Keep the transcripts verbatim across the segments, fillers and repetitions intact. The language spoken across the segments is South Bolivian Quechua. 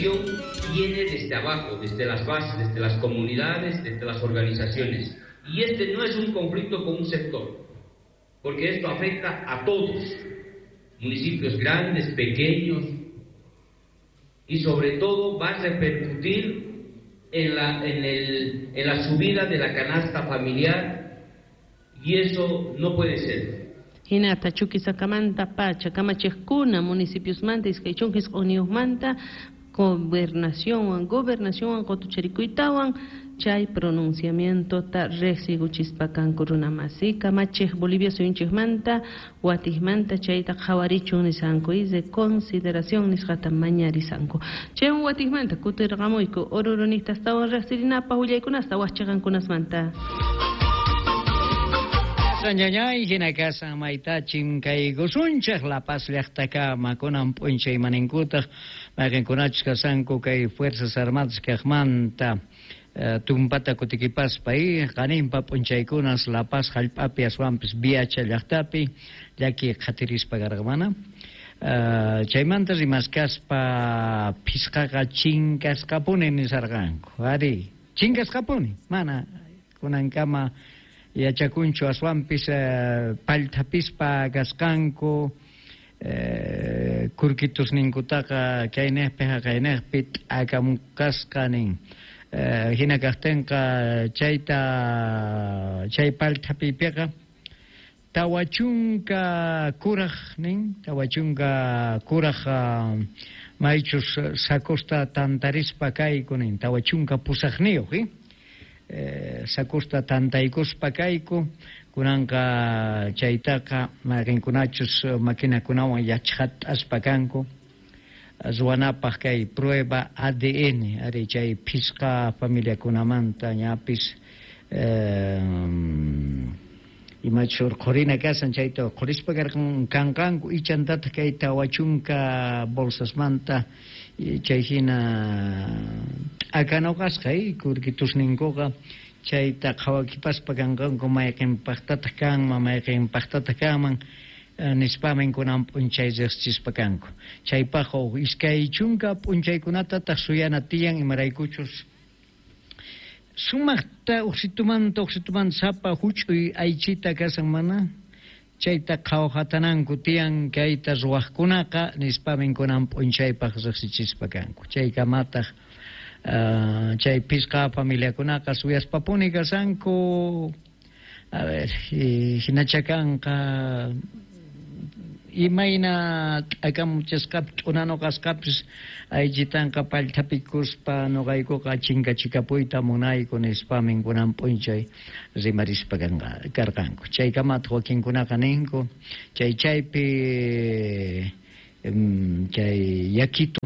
movilización viene desde abajo, desde las bases, desde las comunidades, desde las organizaciones. Y este no es un conflicto con un sector, porque esto afecta a todos, municipios grandes, pequeños, y sobre todo va a repercutir en la, en el, en la subida de la canasta familiar, y eso no puede ser. Hinata Chuquisakamanta pacha kamachiqkuna municipiosmanta iskay chunka isq'unniyuqmanta gobernacionwan gobernacionwan qutucharikuytawan chay pronunciamientota riqsikuchispa kanku runamasi kamachiq Bolivia suyunchikmanta watijmanta chayta qhawarichun nisanku y de consideración nisqata mañarisanku chaywan watijmanta kutirqamuyku Oruroniqtastawan riqsirinapaq willaykunasta waqchiqankunasmanta. Ñañay hina kasan maytachin kaykusunchik La Paz llaqtakama kunan p'unchay maninkutaq mayqinkunachus kasanku kay Fuerzas Armadas kaqmanta tumpata kutikipaspa y qaninpa p'unchaykunas La Paz hallp'api aswanpis Viacha llaqtapi llaki qhatirispa karqamana. Chaymanta rimaskaspa phisqaqa chinkasqapuni nisarqanku ari chinkasqapuni mana kunankama yachakunchu aswanpis pallthapispa kasqanku kurkitusninkutaqa kaynejpi haqaynejpi t'akamukasqa nin hina kaqtinqa chayta chay pallthapipiqa tawa chunka kuraj nin tawa chunka kuraj maychus sacosta tantarispa kayku nin tawa chunka pusaqniyuq eh sakusta tantaykuspa kayku kunanqa chaytaqa mayqinkunachus maquinakunawan yachqat'aspa kanku ruwanapaq kay prueba A D N ari chay phisqa familiakunamanta ñapis imachus urqhurina kasan chayta urqhurispa karqan kanqanku ichantataq kay tawa chunka bolsasmanta chay hina t'akanuqasqa kurkitusninkuqa chayta qhawakipaspa kanqanku mayqinpaqtataq kanman mayqinpaqtataq kanman nispamin kunan p'unchay riqsichispa kanku chaypaq huk iskay chunka p'unchaykunatataq suyana tiyan imaraykuchus sumaqta uqsitumanta uqsitumanta sapa huch'uy aychita kasan mana chayta qhawhatananku tiyan kayta ruwaqkunaqa nispamin kunan p'unchaypaq riqsichispa kanku chaykamataq chay phisqa familiakunaqa suyaspapuni kasanku a ver hinacha kanqa imayna t'akamuchasqapis t'unanuqasqapis aychitanqa pallthapikuspa nuqaykuqa chinkachikapuyta munayku nispamin kunan p'unchay rimarispa karqanku chaykamataq wakinkunaqa ninku chay chaypi chay yakitu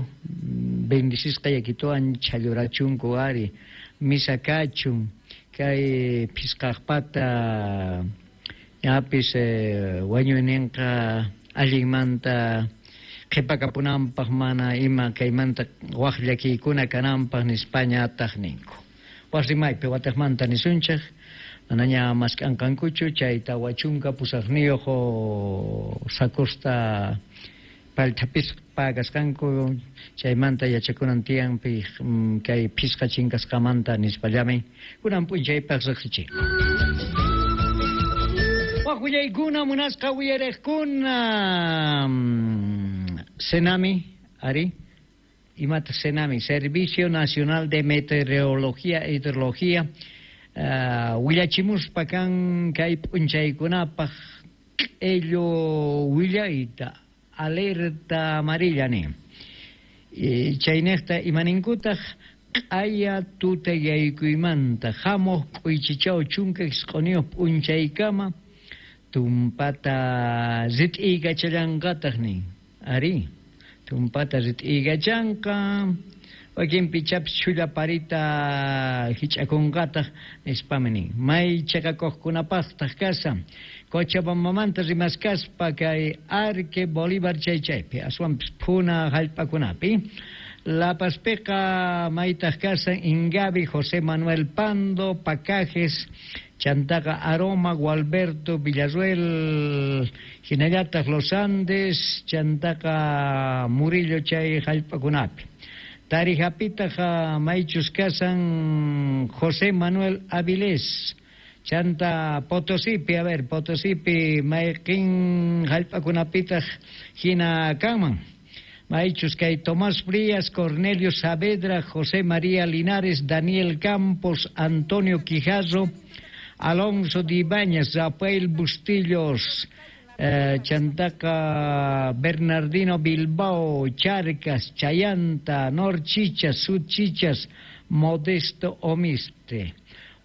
bendicisqa yakituwan chhallurachunku ari misa kachun kay phisqaqpata ñapis wañuyninqa allinmanta qhipakapunanpaq mana ima kaymanta waq llakiykuna kananpaq nispañataq ninku waq rimaypi wataqmanta nisunchik manaña mask'anqankuchu chay tawa chunka pusaqniyuq sakusta pallthapispa kasqanku chaymanta yachakunan tiyanpi kay phisqa chinkasqamanta nispallamin kunan p'unchaypaq riqsichinku. Waq willaykuna munasqa uyariqkuna Senami ari imata Senami Servicio Nacional de Meteorología e Hidrología willachimuspa kan kay p'unchaykunapaq q'illu willayta alerta amarilla nin chaynejta imaninkutaq q'aya tutayaykuymanta hamuq k'uychichaw chunka isq'uniyuq p'unchaykama tumpata rit'iykachallanqataq nin ari tumpata rit'iykachanqa wakinpi chapis chhulla parita hich'akunqataq nispami nin may chaqakuqkunapaqtaq kasan Cochabambamanta rimaskaspa kay Arque Bolívar chay chaypi aswanpis phuna hallp'akunapi La Pazpiqa maytaq kasan Ingabi José Manuel Pando Pacajes Chantaqa Aroma Gualberto Villarruel hinallataq Los Andes Chantaqa Murillo chay hallp'akunapi Tarijapitaq maychus kasan José Manuel Avilés. Chanta Potosipi, a ver, Potosipi mayqin jallp'akunapitaq hina kanman. Maychus kay Tomás Frías, Cornelio Saavedra, José María Linares, Daniel Campos, Antonio Quijarro, Alonso de Ibáñez, Rafael Bustillos, eh, Chantaca Bernardino Bilbao, Charcas, Chayanta, Norchichas, Sudchichas, Modesto Omiste.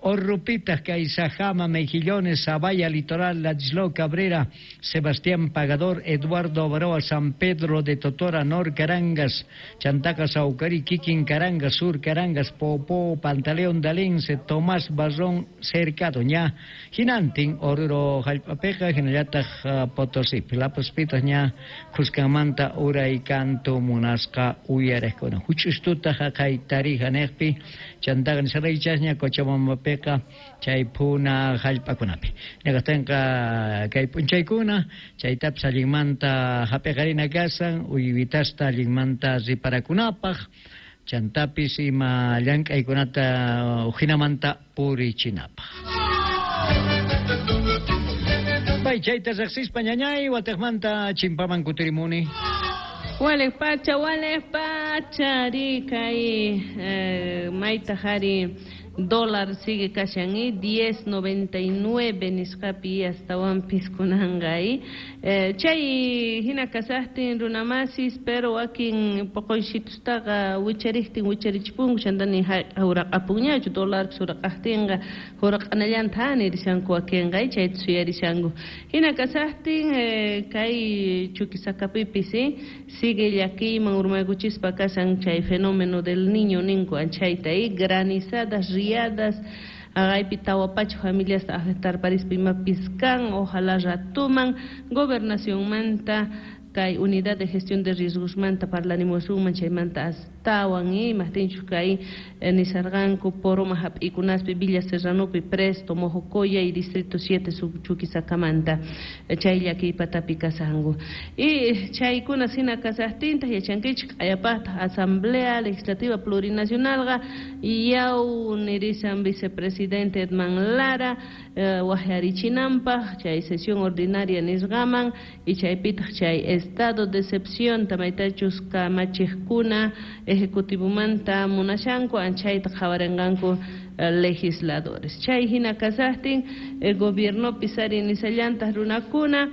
Orrupitas, Caizajama, Mejillones, Zavalla, Litoral, Ladislao Cabrera, Sebastián Pagador, Eduardo Avaroa, San Pedro de Totora, Nor Carangas, Chantaca, Saucarí, Kikin Carangas, Sur Carangas, Popó, Pantaleón Dalense, Tomás Barrón, Cercado, ña, Jinantin, Oruro, Jalpapeja, Jinallataj, Potosí, Lapaspitas, ña, Cuscamanta, Ura y Canto, Munasca, Uyarejcona, Huchustuta, Jacay, Tarija, Nejpi, Chantaca, Nisaraychasña, Cochabamba, chay puna jallp'akunapi. Ñaqastanqa kay p'unchaykuna chaytapis allinmanta hap'iqarina kasan uywitasta allinmanta riparakunapaq chantapis ima llank'aykunata ujinamanta purichinapaq. Bay chayta riqsispa ñañay wataqmanta chimpaman kutirimuni. Walej pacha, walej pacha, ri kay eh, mayta jari dólar sigue kashan y diez noventa y nueve nisqapi astawanpis kunanqa y eh, chay hina kasaqtin runamasis pero wakin poqoysitustaqa wichariqtin wicharichipunku chantani huraqapunñachu dólarpis huraqaqtinqa huraq'anallanta nirishanku wakinqa y chayta suyarishanku hina kasaqtin eh, kay Chuquisacapipis eh, sigue llakiyman urmaykuchispa kasan chay fenómeno del niño ninku anchayta y granizadas riadas, agaypi tawa pacha familias afectar parispa imapis kan, ojalá ratuman gobernacionmanta kay unidad de gestión de riesgosmanta parlanimusunman chaymanta astawan y imajtinchus kay nisarqanku poroma hap'ikunaspi Villa Serranopi Presto, Mojocoya y Distrito siete Chuquisacamanta chay llakiypatapi kasanku y chaykuna hina kasaqtintaq yachankichik q'ayapaqtaq Asamblea Legislativa Plurinacionalqa yaw nirisan vicepresidente Edman Lara eh, waqyarichinanpaq chay sesión ordinaria nisqaman y chaypitaq chay estado de excepción tamaytachus kamachiqkuna ejecutivomanta munashanku anchayta qhawarinqanku legisladores chay hina kasaqtin el gobiernopi sari nisallantaq runakuna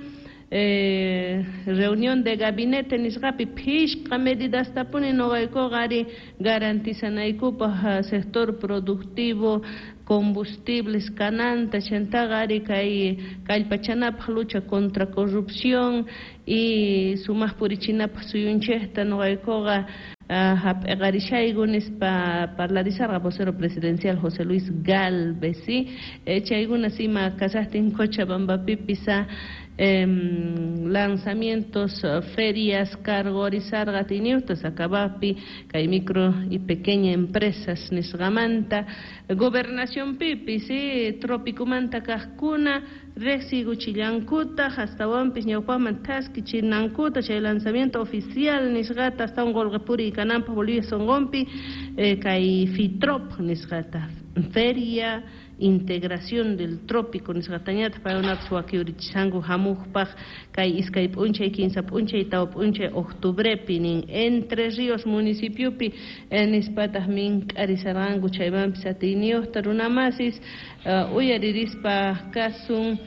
Eh, reunión de gabinete nisqapi phishqa medidastapuni noqaykuqa ari garantizanaykupaq sector productivo combustibles kananta chantaqa ari kay kallpachanapaq lucha contra corrupción y sumaq purichinapaq suyunchikta noqaykuqa hap'iqarishayku nispa parlarisarqa vocero presidencial José Luis Gálvez, ¿sí? Eh, chaykuna sima kasaqtin Cochabambapipis eh, lanzamientos, ferias, cargorizarqa tiniutas acabapi kay micro y pequeña empresas nisqamanta gobernación pipi, ¿sí? Tropicomanta kaqkuna riqsiykuchillankutaq astawanpis ñawpaqman thaskichinankuta chay lanzamiento oficial nisqata astawan qullqi puriy kananpaq Bolivia sonqonpi eh, kay FITROP nisqata Feria Integración del Trópico nisqatañataq paykunapis wakiurichishanku hamuqpaq kay iskay p'unchay kinsa p'unchay tawa p'unchay octubrepi nin Entre Ríos municipiopi eh, nispataq mink'arisarqanku chaymanpis atiyniyuqta runamasis uh, uyaririspa kasun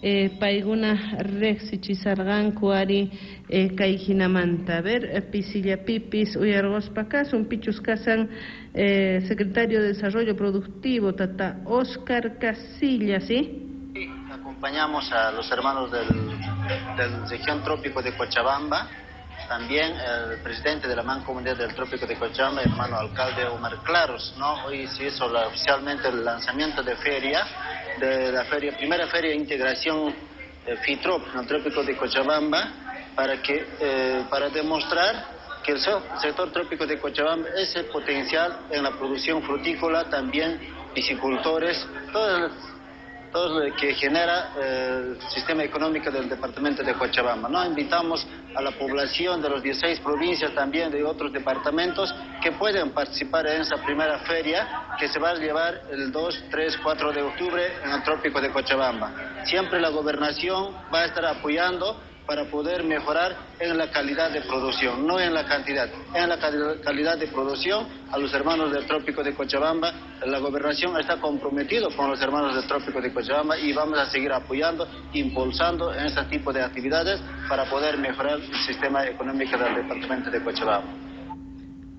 eh, paykuna riqsichisarqanku ari eh, kay hinamanta. A ver, pisillapipis uyarquspa kasun pichus kasan eh, secretario de Desarrollo Productivo tata Oscar Casillas, ¿sí? Sí, acompañamos a los hermanos del, del región trópico de Cochabamba, también el presidente de la Mancomunidad del Trópico de Cochabamba, hermano alcalde Omar Claros, ¿no? Hoy se hizo la, oficialmente el lanzamiento de feria, de la feria, primera feria de integración eh, FITROP en el Trópico de Cochabamba, para que, eh, para demostrar que el sector trópico de Cochabamba es el potencial en la producción frutícola, también piscicultores, todas las todo lo que genera el sistema económico del departamento de Cochabamba, ¿no? Invitamos a la población de las dieciséis provincias, también de otros departamentos, que pueden participar en esa primera feria que se va a llevar el dos, tres, cuatro de octubre en el Trópico de Cochabamba. Siempre la gobernación va a estar apoyando para poder mejorar en la calidad de producción, no en la cantidad, en la calidad de producción a los hermanos del Trópico de Cochabamba. La gobernación está comprometido con los hermanos del Trópico de Cochabamba y vamos a seguir apoyando, impulsando en este tipo de actividades para poder mejorar el sistema económico del departamento de Cochabamba.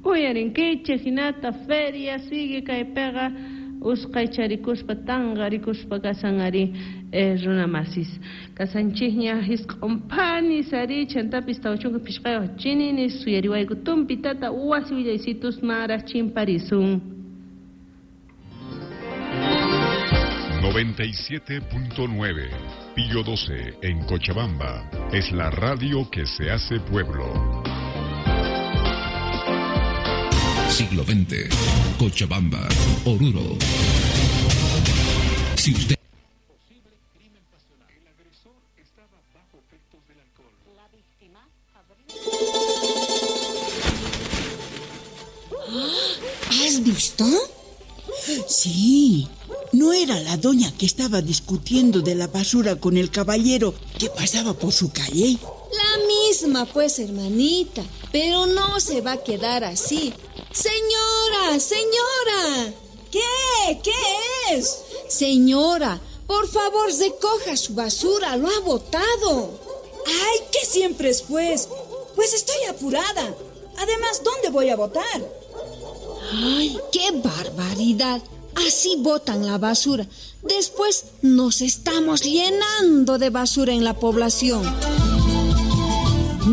Uyarinkichej hinata feria sigue kaypiqa usqaycharikuspa tanqarikuspa kasan ari eh, runamasis kasanchikña hisq'unphanis ari chantapis tawa chunka phishqayuq chininis suyariwayku tumpitata wasi willaysitus maraj chimparisun. noventa y siete punto nueve Pío doce en Cochabamba es la radio que se hace pueblo. Siglo veinte, Cochabamba, Oruro. Si usted... El agresor estaba bajo efectos del alcohol. La víctima habría... ¿Has visto? Sí. ¿No era la doña que estaba discutiendo de la basura con el caballero que pasaba por su calle? La misma, pues, hermanita. Pero no se va a quedar así. ¡Señora! ¡Señora! ¿Qué? ¿Qué es? Señora, por favor, recoja su basura. Lo ha botado. ¡Ay, qué siempre es, pues! Pues estoy apurada. Además, ¿dónde voy a botar? ¡Ay, qué barbaridad! Así botan la basura. Después nos estamos llenando de basura en la población.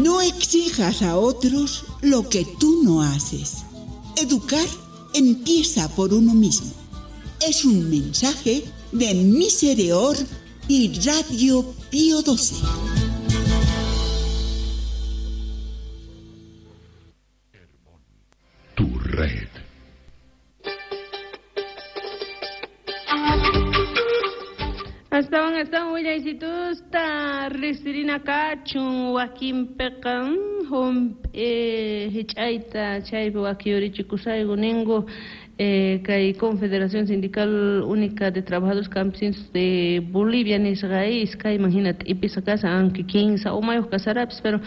No exijas a otros lo que tú no haces. Educar empieza por uno mismo. Es un mensaje de Misereor y Radio Pío doce. Tu red. Astawan astawan willaysitusta riqsirina kachun wakinpiqa hump'i hich'ayta chaypi wakiyurichikusayku ninku eh, kay Confederación Sindical Única de Trabajadores Campesinos de Bolivia nisqa iskayman hina t'ipisqa kashan, aunque kinsa umayuq kasarapis, pero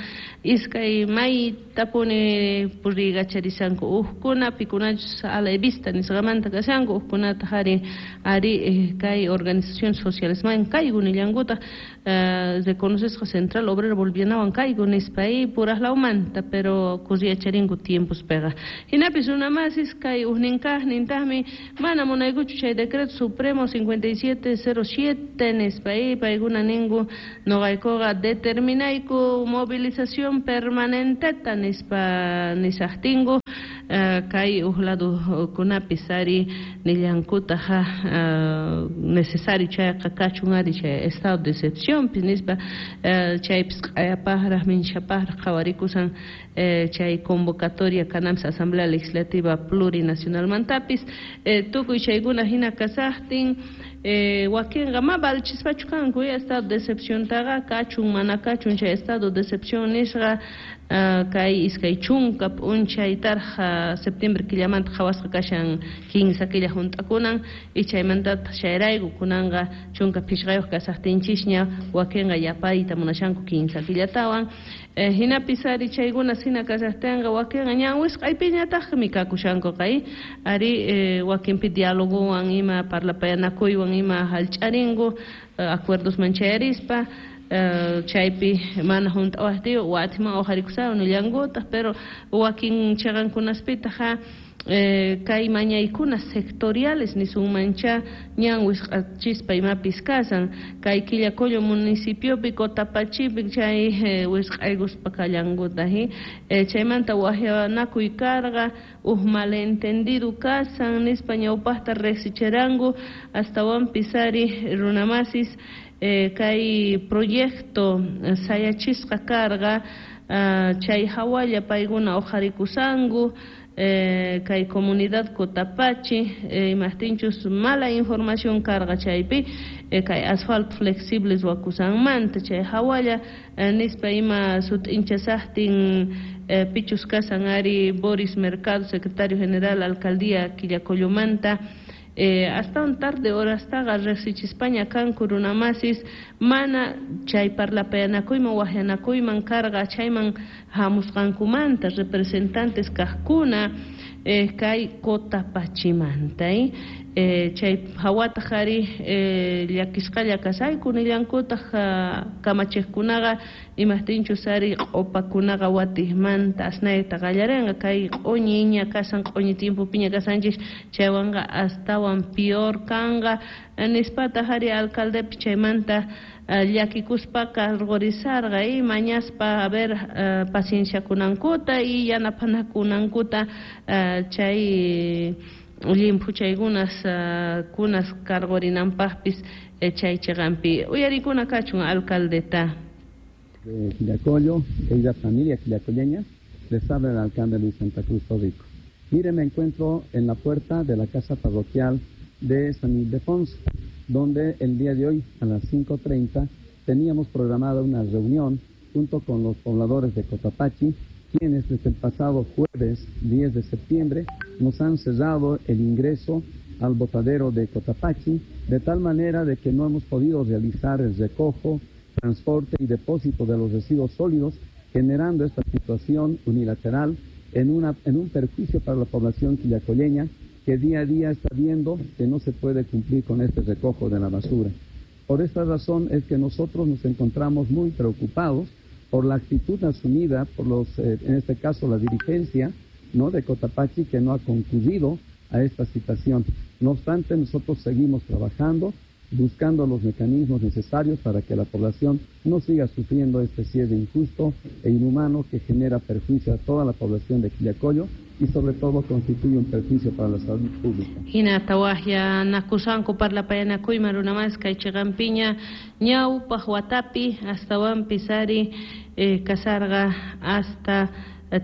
iskay maytapuni puriykacharishanku uqkuna pikunachus ala vista nisqamanta kashanku uqkunataq ari ari eh, kay organizaciones sociales man kayku nillankutaq eh, reconocesqa Central Obrera Bolivianawan kayku nispa puraqlawmanta, pero kurriyacharinku tiempospiqa hinapis runamasis kay ujnin nintaqmi mana munaykuchu chay decreto supremo cincuenta y siete cero siete nispa paykuna ninku noqaykuqa determinayku movilización permanenteta nispa nisaqtinku uh, kay uj ladukunapis ari nillankutaq uh, necesario chayqa kachun ari chay estado de excepciónpis nispa uh, chaypis q'ayapaqraq minchapaqraq qhawarikusan eh, chay convocatoria kananpis Asamblea Legislativa Plurinacionalmantapis eh, tukuy chaykuna hina kasaqtin eh, wakinqa ma valchispachu kanku estado de excepciontaqa kachun mana kachun chay estado de excepción nisqa uh, kay iskay chunka p'unchaytarqa septiembre killamanta qhawasqa kashan kinsa killa hunt'akunan y chaymantataq chayrayku kunanqa chunka phishqayuq kasaqtinchisña wakinqa yapayta munashanku kinsa killatawan eh, hinapis ari chaykuna hina kasaqtinqa wakinqa ñan wisq'aypiñataqmi kakushanku kay ari eh, wakinpi dialogowan ima parlapayanakuywan ima hallch'arinku eh, acuerdosman chayarispa Uh, chaypi mana hunt'awaqtiyu watiman uqharikusayku nillankutaq, pero wakin chaqankunaspitaq eh, kay mañaykuna sectoriales nisunmancha ñan wisq'achispa imapis kasan kay Quillacollo municipiopi Cotapachipi chay eh, wisq'aykuspa kallankutaq eh, chaymanta waqyanakuy karqa uj malentendido kasan nispa ñawpaqta riqsichiranku astawanpis ari runamasis Eh, kay proyecto sayachisqa karqa uh, chay hawalla paykuna uqharikusanku eh, kay comunidad Cotapachi eh, imajtinchus mala información karqa chaypi eh, kay asfalto flexible ruwakusanmanta chay hawalla eh, nispa ima sut'inchasaqtin eh, pichus kasan ari Boris Mercado, secretario general alcaldía Quillacollomanta. Eh, hasta un tarde horastaqa riqsichispaña kanku runamasis mana chay parlapayanakuyman waqyanakuyman karqa chayman hamusqankumanta representantes kaqkuna eh, kay Cotapachimanta eh, eh, chay hawataq ari eh, llakisqalla kasayku nillankutaq uh, kamachiqkunaqa imajtinchus ari q'upakunaqa watijmanta asnayta qallarinqa kay q'uñiña kasan q'uñi tiempopiña kasanchis chaywanqa astawan peor kanqa nispataq ari alcaldepi chaymanta uh, llakikuspa cargorizarqa y mañaspa a ver uh, pacienciakunankuta y yanapanakunankuta uh, chay llimphuchaykunas uh, kunas cargorinanpaqpis eh, chay chiqanpi uyarikuna kachun alcaldeta de Quillacollo, querida familia quillacolleña, les habla el alcalde Luis Santa Cruz Torrico. Mire, me encuentro en la puerta de la casa parroquial de San Ildefonso, donde el día de hoy a las cinco treinta teníamos programada una reunión junto con los pobladores de Cotapachi, quienes desde el pasado jueves diez de septiembre nos han cerrado el ingreso al botadero de Cotapachi, de tal manera de que no hemos podido realizar el recojo, transporte y depósito de los residuos sólidos, generando esta situación unilateral en, una, en un perjuicio para la población quillacolleña, que día a día está viendo que no se puede cumplir con este recojo de la basura. Por esta razón es que nosotros nos encontramos muy preocupados por la actitud asumida por los, eh, en este caso la dirigencia, ¿no?, de Cotapachi, que no ha concurrido a esta citación. No obstante, nosotros seguimos trabajando, buscando los mecanismos necesarios para que la población no siga sufriendo este cierre injusto e inhumano que genera perjuicio a toda la población de Quillacollo y sobre todo constituye un perjuicio para la salud pública. Hinata waqya nakusanku parlapayanakuyman runamas kay chiqanpiña ñawpaq watapi astawanpis ari eh, kasarqa hasta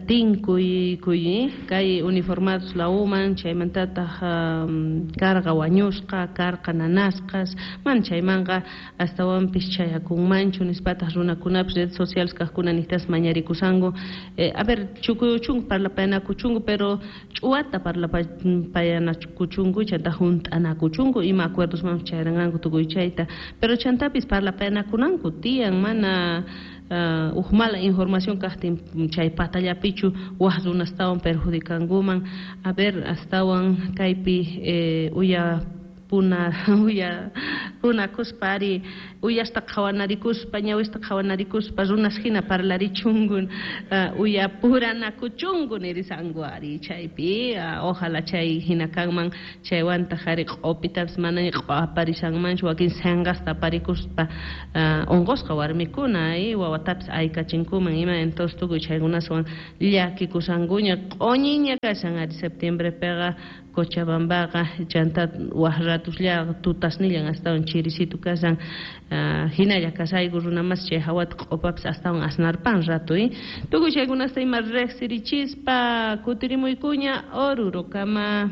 tinkuy kuy kay uniformados la uman chaymantataq um, karqa wañusqa karqa nanasqas man chaymanqa astawanpis chayakunmanchu nispataq runakunapis redes sociales kaqkuna niqtas mañarikusanku eh, a ver chukuyuchunku parlapayanakuchunku pero ch'uwata parlapayanakuchunku chanta hunt'anakuchunku ima acuerdos man chayranqanku tukuy chayta pero chantapis parlapayanakunanku tiyan mana Uh, uj mala información kaqtin chay patallapichu waj runastawan perjudikankuman a ver astawan kaypi eh, uya puna uya punakuspa ari uyasta qhawanarikuspa ñawista qhawanarikuspa runas hina parlarichunku uh, uya puranakuchunku nirisanku ari chaypi uh, ojalá chay hina kanman chaywantaq ari q'upitapis mana q'aparisanmanchu wakin sanqasta aparikuspa uh, unqusqa warmikuna y wawatapis aykachinkuman ima entonces tukuy chaykunaswan llakikusankuña q'uñiña kashan ari septiembrepiqa Cochabambaqa chanta waj ratusllaqa tutasnillan astawan chirisitu kasan uh, hinalla kasayku runamas chay hawata q'upapis astawan asnarpan rato eh? Tukuy chaykunasta ima riqsirichispa kutirimuykuña Orurokama.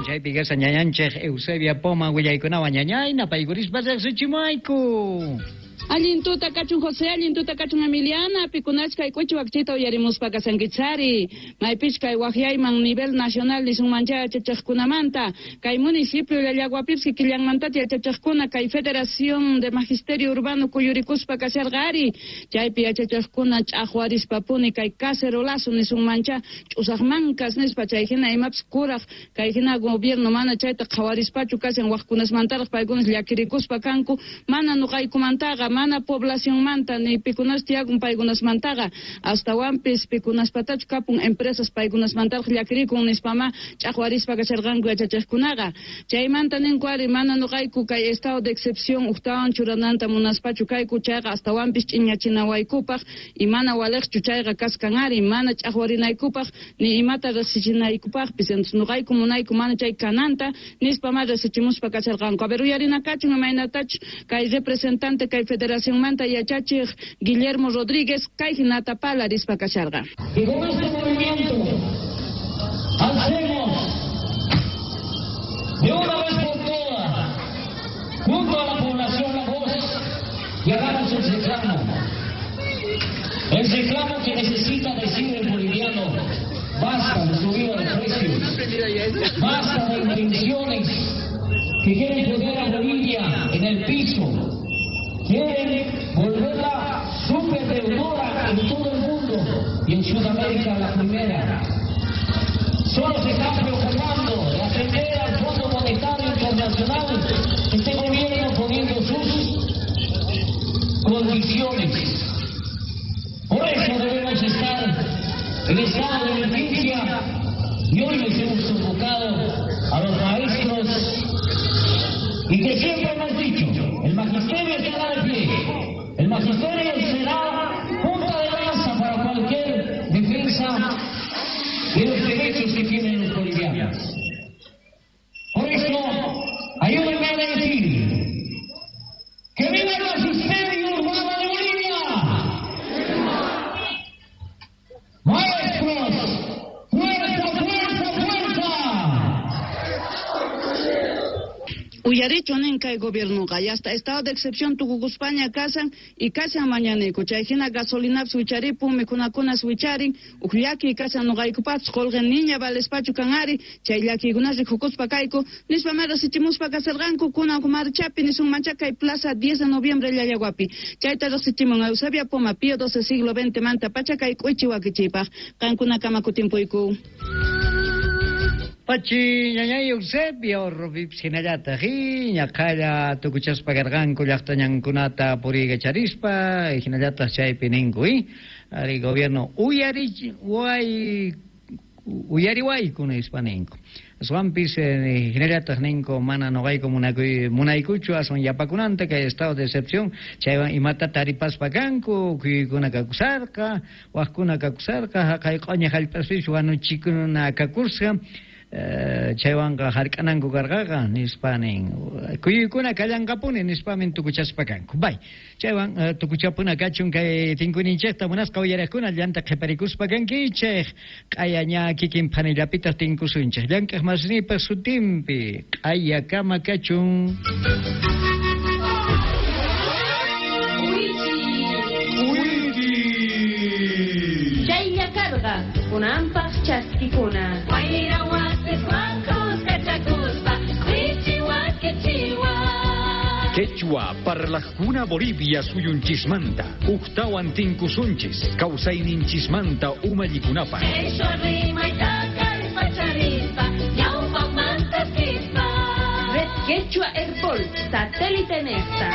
Chaypi kashan ñañanchik Eusebia Poma willaykunawan ñañay napaykurispa riqsichimayku. Allin tuta kachun José, allin tuta kachun Emiliana, pikunachka k'uchi wakchita uyarimuspa kasankichari, maypich kay waqyayman nivel nacional nisunmancha yachachiqkunamanta, kay municipio Llallaguapipis kikillanmantata yachachiqkuna kay Federación de Magisterio Urbano kuyurikuspa kasharqa ari, chaypi yachachiqkuna ch'aqwarispapuni kay cacerolazo nisunmancha ch'usaqmankas nispa chay hina imapis kuraq kay hina gobierno mana chayta qhawarispachu kashan waqkunasmantaraq paykunas llakirikuspa kanku, mana nuqaykumantaqa mana poblacionmanta ni pikunas tiyakun paykunasmantaqa astawanpis pikunaspatachu kapun empresas paykunasmantaraq llakirikun nispama ch'aqwarispa kasharqanku yachachiqkunaqa chaymanta ninku ari mana nuqayku kay estado de excepción uqtawan churananta munaspachu kayku chayqa astawanpis ch'iñachinawaykupaq y mana waliqchu chayqa kaskan ari mana ch'aqwarinaykupaq ni imata riqsichinaykupaqpis entonces nuqayku munayku mana chay kananta nispama riqsichimuspa kasharqanku. A ver uyarinakachun imaynatachu kay representante kay Federacionmanta yachachej Guillermo Rodríguez kay hinata palarispa kasharqa. Y con este movimiento alcemos de una vez por todas junto a la población la voz y hagamos el reclamo. El reclamo que necesita decir el boliviano: basta de subida de precios, basta de intenciones que quieren poner a Bolivia en el piso, quieren volverla súper deudora en todo el mundo y en Sudamérica la primera. Solo se están preocupando de atender al Fondo Monetario Internacional, este gobierno poniendo sus condiciones. Por eso debemos estar en estado de emergencia y hoy les hemos convocado a los maestros y que siempre hemos dicho, el magisterio estará de pie, el magisterio será punta de lanza para cualquier defensa de los derechos que tienen los bolivianos. Por eso, ayúdenme a decir que viva el magisterio urbano de Bolivia. Maestros, fuerza, fuerza, fuerza. Uyarichu nin kay gobiernoqa hasta estado de excepción tukukuspaña kasan y kasan mañanayku chay hina gasolinapis wicharipun mikhunakunas wicharin uj llakiy kasan noqaykupapis qolqe niña valespachu kan ari chay llakiykunas rikukuspa kayku nispa riqsichimuspa kasarqanku kunan marchapi nisunmancha kay plaza diez de noviembre Llallaguapi chayta riqsichimun Eusebia Poma Pío doce siglo veinte manta pacha kay k'uichi wakichiypaq qankunakama kutimpuyku. Pachi ñañay Eusebio Rubipis hinallataq ñaqhalla tukuchaspa karqanku llaqtañankunata puriykacharispa hinallataq chaypi ninku ari gobierno uyariway uyariwayku nispa ninku aswanpis hinallataq ninku mana noqayku munakuy munaykuchu aswan yapakunanta kay estado de excepción chaywan imata taripaspa kanku kuykuna kakusarqa waqkuna kakusarqa haqay q'oña hallp'aspis wanuchikuna kakusqa chaywanqa hark'ananku karqaqa nispa nin kuyuykuna kallanqapuni nispamin tukuchaspa kanku bay chaywan tukuchapuna kachun kay tinkuyninchikta munasqa uyariqkuna llanta qhiparikuspa kankichik q'aya ña kikin phanillapitaq tinkusunchik llank'aq masnipaq sutinpi q'ayakama kachun. Chaylla karqa kunanpaq chaskikuna. Quechua parlajkuna Bolivia suyunchismanta uktawan tinkusunchis kawsayninchismanta umallikunapaq. Red Quechua Airport satélite nesta.